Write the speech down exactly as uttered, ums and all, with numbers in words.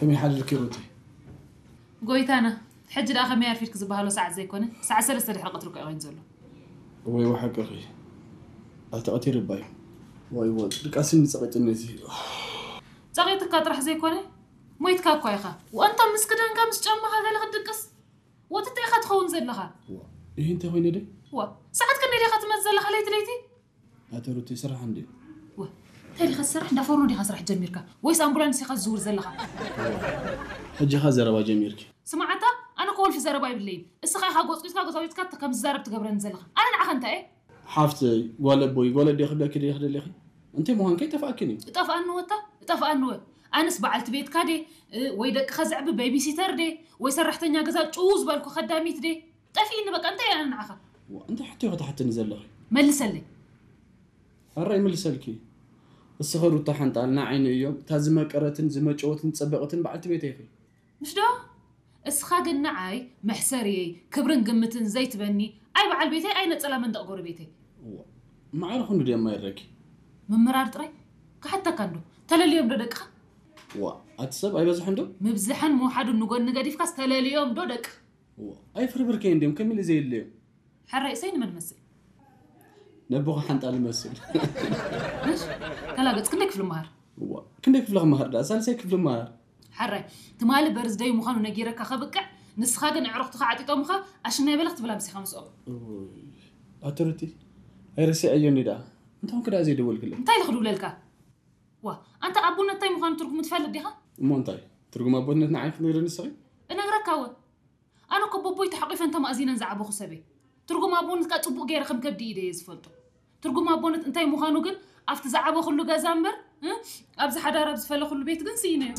ከመይ ሓልልኪ ሩቲ? ጎይታና፣ ሕጂ ደኣ ከመይ ኣርፊድክ ዝበሃሎ ሰዓት ዘይኮነ፣ ሰዓት ሰለስተ ድሕሪ ቀትሪ እኮ እዩ ኮይኑ ዘሎ። እወ፣ እወ፣ ሓቅኺ። ኣልተቐቲር እባ እዩ። ዋይ፣ ዋይ፣ ድቃስኒ ጸቒጥኒ እዚ። ጸቒጥካ ጥራሕ ዘይኮነ፣ ሞይትካ እኳ ኢኻ። ወአንተ ምስ ክዳንካ ምስ ጫማኻ ገለ ክትድቅስ፣ ወትተ ኢኻ ትኸውን ዘለኻ። ዋ፣ ይህ እንተ ኮይነ ደ? ዋ፣ ሰዓት ክንደይ ዲኻ ትመጽእ ዘለኻ ለይቲ ለይቲ? ኣተ ሩቲ፣ ስራሕ እንዴ? ወ፣ እንታይ ዲኻ ትሰርሕ? እንዳ ፎርኖ ዲኻ ስራሕ ጀሚርካ? ወይስ ኣምቡላንስ ኢኻ ትዝውር ዘለኻ? ሕጂ ኢኻ ዘረባ ጀሚርኪ። ስማዕ ኣታ፣ ኣነ እኮ ወልፊ ዘረባ ይብለይን። እስኻ ኢኻ ጎጽጒጽካ ጎጻጒጽካ ከም ዝዛረብ ትገብረኒ ዘለኻ። ኣነ ንዓኻ እንታይ እየ? ሓፍተይ፣ ጓል ኣቦይ፣ ጓል ኣዴ ክብለኪ ዲኺ ደለኺ? እንታይ ምዃንኪ ኣይጠፍኣክን እዩ። እጠፍኣኒ ወታ፣ እጠፍኣኒ ወ። ኣነስ በዓልቲ ቤትካ ዴ፣ እ፣ ወይ ደቅኻ ዘዕቢ ቤቢሲተር ዴ፣ ወይ ሰራሕተኛ ገዛ ጭው ዝበልኩ ከዳሚት ዴ? ጠፊእኒ በቃ፣ እንታይ እየ ኣነ ንዓኻ? ዋ፣ እንታይ ሕቶ ኢኺ ትሓትኒ ዘለኺ? መልሰለይ። ኣረ ይምልሰልኪ። እስኺ ሩታ ሓንጣል ንዓይ ንእዮም፣ እታ ዝመቀረትን ዝመጨወትን ዝጸበቐትን በዓልቲ ቤተይ ኢኺ። ምሽ ዶ? እስኻ ግን ንዓይ መሕሰርየይ፣ ክብርን ግምትን ዘይትበኒ፣ ኣይ በዓል ቤተይ፣ ኣይ ነጸላ መንደቕ ጎረቤተይ። ዋ፣ ማዕረ ክንዱ ድየ የማይረኪ? ምምራር ጥራይ? ክሓተካ እንዶ፣ ተለልዮም ዶ ደቅኻ? ዋ፣ ኣቲ ሰብ ኣይበዝሐን ዶ? ምብዝሐን ምውሓዱን ንጎኒ ገዲፍካስ ተለልዮም ዶ ደቅኻ? ዋ፣ ኣይፍርብርከይ እንድዮም፣ ከሚለ ዘየለዮም። ሕራይ እሰይ ንመን መስል? ነቦኻ ሓንጣል መስል። እሽ፣ ተላገጽ፣ ክንደይ ክፍሊ መሃር? እዋ፣ ክንደይ ክፍሊ ክመሃር ደኣ? ሳልሳይ ክፍሊ መሃር። ሕራይ፣ ትማሊ በርዝደይ ምዃኑ ነጊረካ ከብቅዕ፣ ንስኻ ግን ኣዕሩኽትኻ ዓጢጦምኻ፣ ኣሽናይ በለ ክትብላ ምሲኻ ምስኦም። እውይ፣ ኣቲ ሩቲ፣ ኣይረሲዐዮኒ ደኣ። እንታይ ኮንክ ደኣ ዘይደወልክለይ? እንታይ ኢለ ክድውለልካ? ዋ፣ ኣንታ ኣቦነት እንታይ ምዃኑ ትርጉሙ ትፈልጥ ዲኻ? እሞ እንታይ? ትርጉም ኣቦነት ንዓይ ክትነግረኒ ንስኺ? እነግረካ እወ። ኣነ እኮ ቦቦይ ተሐቂፈን ተማእዚነን ዝዓበኹ ሰብ እየ። ትርጉም ኣቦነት ከኣ ጽቡቕ ገይረ ከም ከብዲ ኢደ እየ ዝፈልጦ። ትርጉም ኣቦነት እንታይ ምዃኑ ግን ኣብቲ ዝዓበኹሉ ገዛ እምበር፣ እ፣ ኣብዚ ሓዳር ኣብ ዝፈለኹሉ ቤት ግን ስኢነዮ።